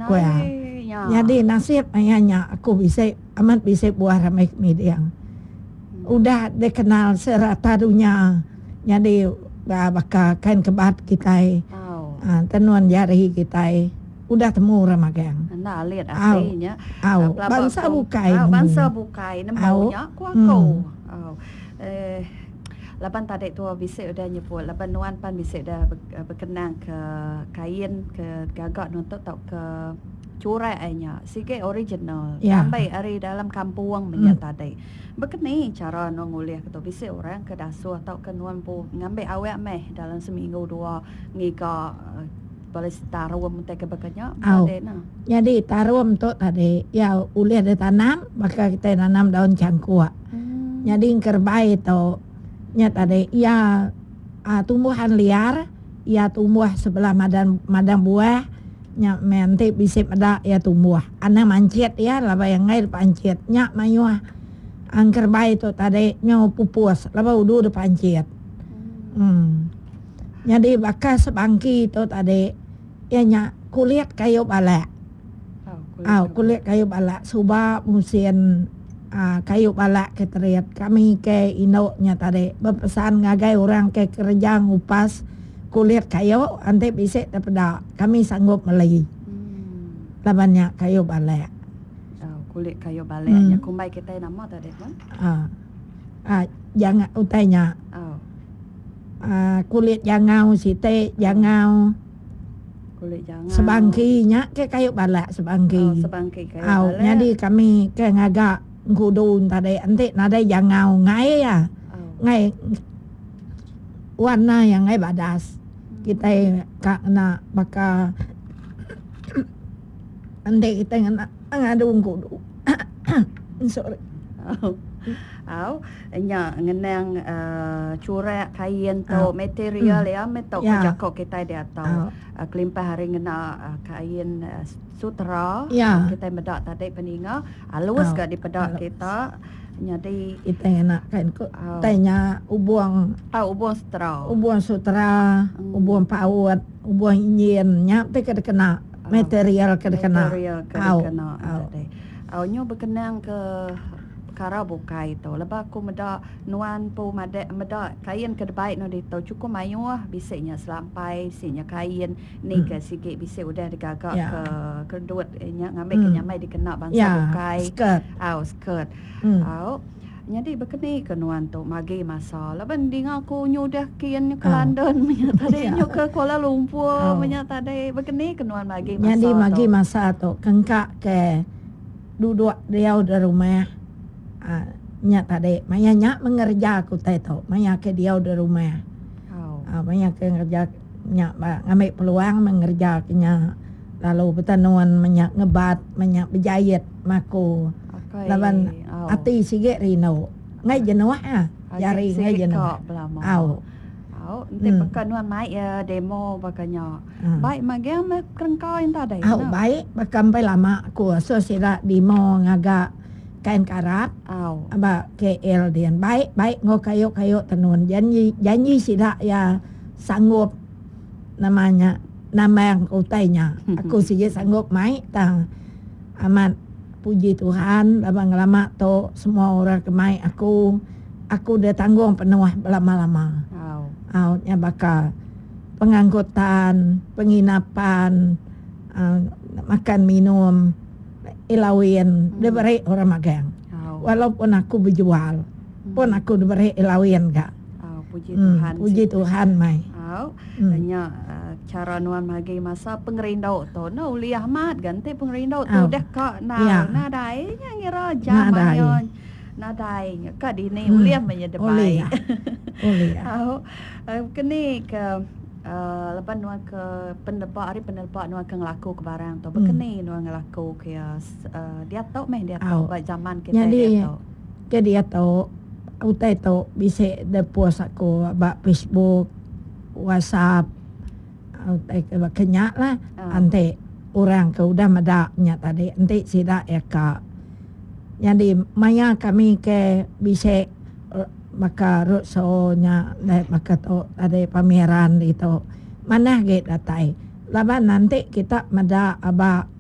Ku iya. Nyadi nasib maya nya aku bisi amat bisi buah rambai kemiding. Udah dikenal serata dunya nyadi baka kain kebat kitai tenun jari kitai udah temu orang magang. Enda alit ati nya. Au bansa bukai nemu. Bansa bukai nemu nya ku aku. Au. Laban tadi tua bisi udah nyebut laban nuan pan bisi udah bekenang ke kain ke gaga nuan tu tauka churak ai nya sigi original ambi ari dalam kampung meh nya tadi. Baka ni chara nuan ngulih ke tu bisi orang ke dasuh tauka nuan empu ngambi awak meh dalam seminggu dua ngiga bala tarum utai ke baka nya tadi ne. Nyadi tarum tu tadi iya ulih ditanam baka kitai nanam daun changkuk. Nyadi engkerebai tu nya tadi iya uhh tumbuhan liar iya tumbuh sebelah madan madang buah nya meh enti bisi meda iya tumbuh. Anang manchit iya laban iya enggai dep anchit nya mayuh engkerebai tu tadi nyau pupus laban udu dep anchit. Uhh nyadi baka sebangki tu tadi iya nya kulit kayu balak. Au kulit kayu balak suba musin uhh kayu balak ke terit kami ke indu nya tadi bepesan ngagai orang ke kereja ngupas kulit kayu enti bisi tepeda kami sanggup meli laban nya kayu balak. Au kulit kayu balak nya kumbai kitai nama tadi pun? Uhh janga utai nya uhh kulit jangau siti jangau. Sebangki nya ke kayu balak sebangki. Au nyadi kami ke ngaga engkudu tadi enti nadai jangau enggai iya. Enggai warna iya enggai badas. Kitai ka ngena baka enti kitai ngena ngadu engkudu. Sorry. Au nya ngenang uhh churak kain tu material iya meh tu jaku kitai diatu kelimpah ari ngena kain sutera kitai meda tadi peninga alus ga dipeda kita nyadi kitai ngena kain ku tai nya ubung ubung sutera ubung sutera ubung paut ubung injin nya ti ke dikena. Material ke dikena. Material ke dikena tadi. Au nyu bekenang ke pekara bukai tu. Lebuh aku meda nuan empu madah meda kain ke dibai nuan ditu chukup mayuh bisi nya selampai, bisi nya kain ni ke sigi bisi udah digaga ke kedut nya ngambi ke nyamai dikena bansa bukai. Au skirt. Au. Nyadi baka ni ke nuan tu magi masa laban dinga ku nyu udah kin nyu ke London menya tadi nyu ke Kuala Lumpur menya tadi baka ni ke nuan magi masa tu. Nyadi magi masa tu kengka ke duduk diau da rumah uhh nya tadi maya nya meh ngereja ke utai tu maya ke diau da rumah uhh maya ke ngereja nya ba ngambi peluang meh ngereja ke nya lalu betenun menya ngebat menya bejait maku. Laban ati sigi rindu. Enggai jenuh ah. Jari enggai jenuh. Au. Au enti baka nuan mai iya demo baka nya. Bai magang meh kerengka enta deh. Au bai baka empai lama aku asuh sida demo ngaga kain karap ba KL din. Bai bai enggau kayu kayu tenun janji janji sida iya sanggup nama nya nambang utai nya. Aku sigi sanggup mai tang amat. Puji Tuhan laban ngelama tu semua orang ke mai aku, aku deh tanggung penuh belama-lama. Au nya baka pengangkutan, penginapan, uhh makan minum, elawin diberi orang magang. Walaupun aku bejual pun aku diberi elawin ga. Puji Tuhan. Puji Tuhan mai. Au. Nya chara nuan magi masa pengerindu tu. Enda ulih amat ga enti pengerindu tu udah ka endar nadai nya ngira jam mayuh nadai nya ka dini ulih meh nya debai. Ulih. Au. Keni ke uhh leban nuan ke peneleba ari peneleba nuan ke ngelaku ke barang tu bekeni nuan ngelaku ke iya uhh diatu meh diatu ba zaman kitai diatu. Ke diatu utai tu bisi da post aku ba Facebook, WhatsApp utai ke baka nya lah enti orang ke udah meda nya tadi enti sida iya ka. Nyadi maya kami ke bisi baka roadshow nya baka tu tadi pameran ditu manah agi datai laban enti kita meda aba.